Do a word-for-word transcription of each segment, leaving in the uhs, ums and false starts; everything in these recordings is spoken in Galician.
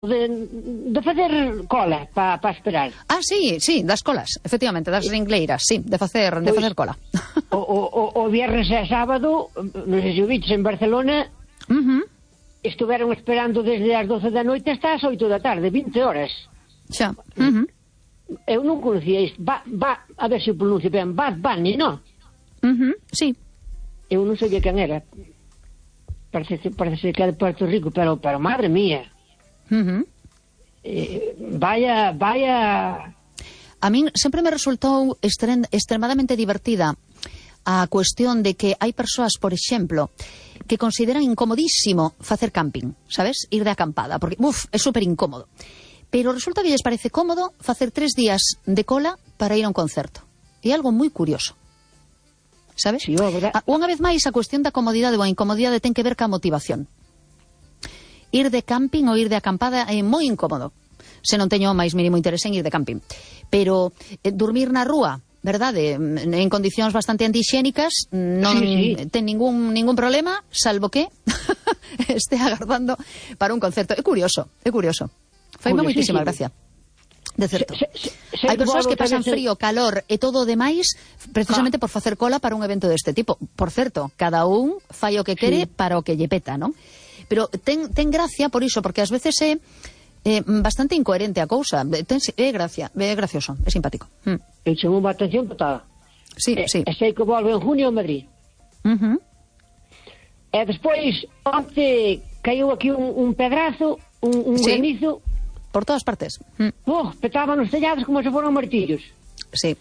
de, de facer cola para pa esperar. Ah, sí, sí, das colas, efectivamente, das ringleiras, sí, de facer, de Pois, facer cola. O, o, o viernes e sábado, non sei se o viches en Barcelona, Uh-huh. estuveron esperando desde as doce da noite hasta as oito da tarde, vinte horas. Xa. Uh-huh. Eu non conocía isto. Va, va, a ver se o pronuncio ben, Bad Bunny, non? Uh-huh. Sí. Eu non sabía quen era. Parece, parece que é de Puerto Rico, pero, pero madre mía. Uh-huh. Eh, vaya, vaya... A min sempre me resultou extrem, extremadamente divertida a cuestión de que hai persoas, por exemplo, que consideran incomodísimo facer camping, sabes? Ir de acampada, porque, uf, é super incómodo. Pero resulta que lles parece cómodo facer tres días de cola para ir a un concerto. É algo moi curioso. Sabes? Sí, a, unha vez máis, a cuestión da comodidade ou a incomodidade ten que ver ca motivación. Ir de camping ou ir de acampada é moi incómodo, se non teño o máis mínimo interese en ir de camping. Pero eh, dormir na rúa, verdade, en condicións bastante antixénicas, non sí, sí. ten ningún ningún problema, salvo que este agardando para un concerto. É curioso, é curioso. Faime moitísima gracia. De certo. Se, se, se, hai persoas que pasan se... frío, calor e todo o demais precisamente ah. por facer cola para un evento deste tipo. Por certo, cada un fai o que quere sí. para o que lle peta, non? Pero ten, ten gracia por iso, porque ás veces é eh, bastante incoherente a cousa. Ten, é gracia, é gracioso, é simpático. Mm. Eu chamo unha atención total. Sí, e, sí. E sei que volve en junio a Madrid. Uh-huh. E despois, onte caiu aquí un, un pedrazo, un, un sí. granizo. Por todas partes. Mm. Oh, petaban os tellados como se foran martillos. Sí.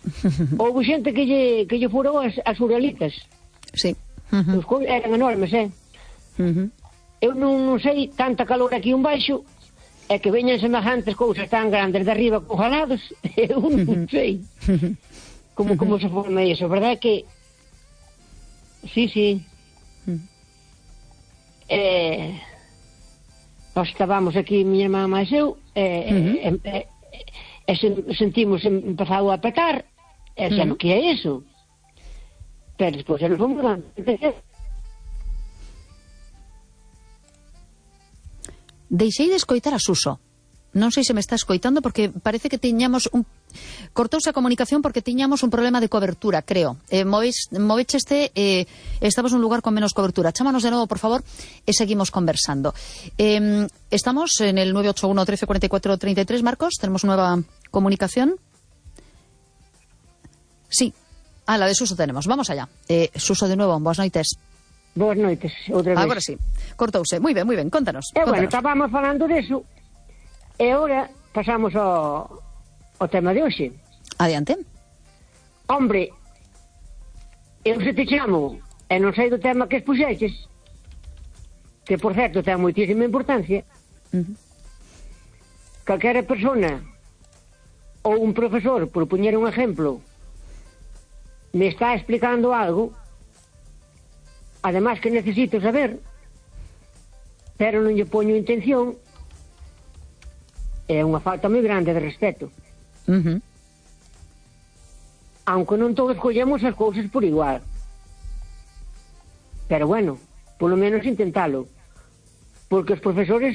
Houve xente que lle, que lle furou as, as uralitas. Sí. Uh-huh. Os cois eran enormes, eh? Uh-huh. Eu non, non sei tanta calor aquí un baixo, e que veñan semejantes cousas tan grandes de arriba congelados, eu non sei. Como, como se forma iso, verdad que... Sí, sí. Uh-huh. Eh... Nós estábamos aquí, miña irmá máis eu, e, uh-huh. e, e, e sentimos empezado a petar, e xa uh-huh. no que é iso. Pero despois nos fomos dando. Deixei de escoitar a Suso. Non sei se me está escoitando porque parece que tiñamos un... Cortouse a comunicación porque tiñamos un problema de cobertura, creo. Eh, Movecheste, eh, estamos nun lugar con menos cobertura. Chámanos de novo, por favor, e seguimos conversando. Eh, estamos en el nueve ocho uno, trece, cuarenta y cuatro, treinta y tres, Marcos. Tenemos nueva comunicación. Sí. Ah, la de Suso tenemos. Vamos allá. Eh, Suso, de nuevo, boas noites. Boas noites, outra vez. Agora sí. Cortouse. Moi ben, moi ben. Contanos. E, contanos. bueno, estábamos falando deso. E agora pasamos ao, ao tema de hoxe. Adiante. Hombre, eu se te chamo e non sei do tema que expuxeches, que por certo ten moitísima importancia, uh-huh. calquera persona ou un profesor, por poñer un exemplo, me está explicando algo, además que necesito saber, pero non lle poño intención, é unha falta moi grande de respeto. Uh-huh. Aunque non todos collemos as cousas por igual. Pero bueno, polo menos intentalo. Porque os profesores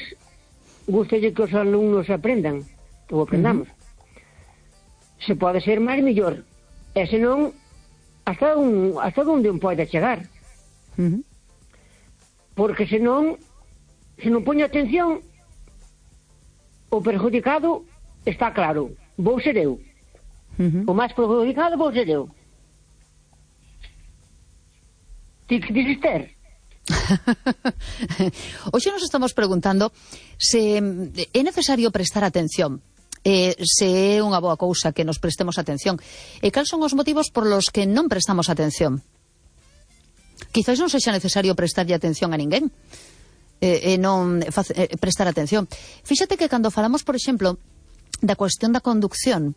gustalle que os alumnos aprendan, ou aprendamos. Uh-huh. Se pode ser máis mellor. E senón, hasta, un, hasta onde un pode chegar. Uh-huh. Porque senón, se non poño atención, o perjudicado está claro, vou ser eu. Uh-huh. O máis perjudicado vou ser eu. Ti que dices ter? Hoxe nos estamos preguntando se é necesario prestar atención, eh, se é unha boa cousa que nos prestemos atención, e cal son os motivos por los que non prestamos atención. Quizás non sexa necesario prestarlle atención a ninguén, e eh, non eh, prestar atención. Fíxate que cando falamos, por exemplo, da cuestión da conducción,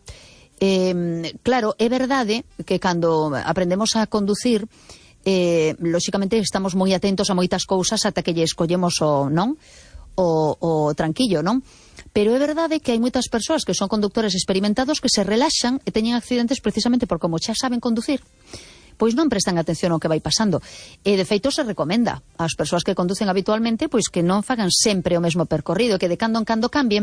eh, claro, é verdade que cando aprendemos a conducir, eh, lóxicamente estamos moi atentos a moitas cousas ata que lle escollemos o, non? O, o tranquillo, non? Pero é verdade que hai moitas persoas que son conductores experimentados que se relaxan e teñen accidentes precisamente por como xa saben conducir. pois non prestan atención ao que vai pasando. E, de feito, se recomenda ás persoas que conducen habitualmente pois que non fagan sempre o mesmo percorrido, que de cando en cando cambien,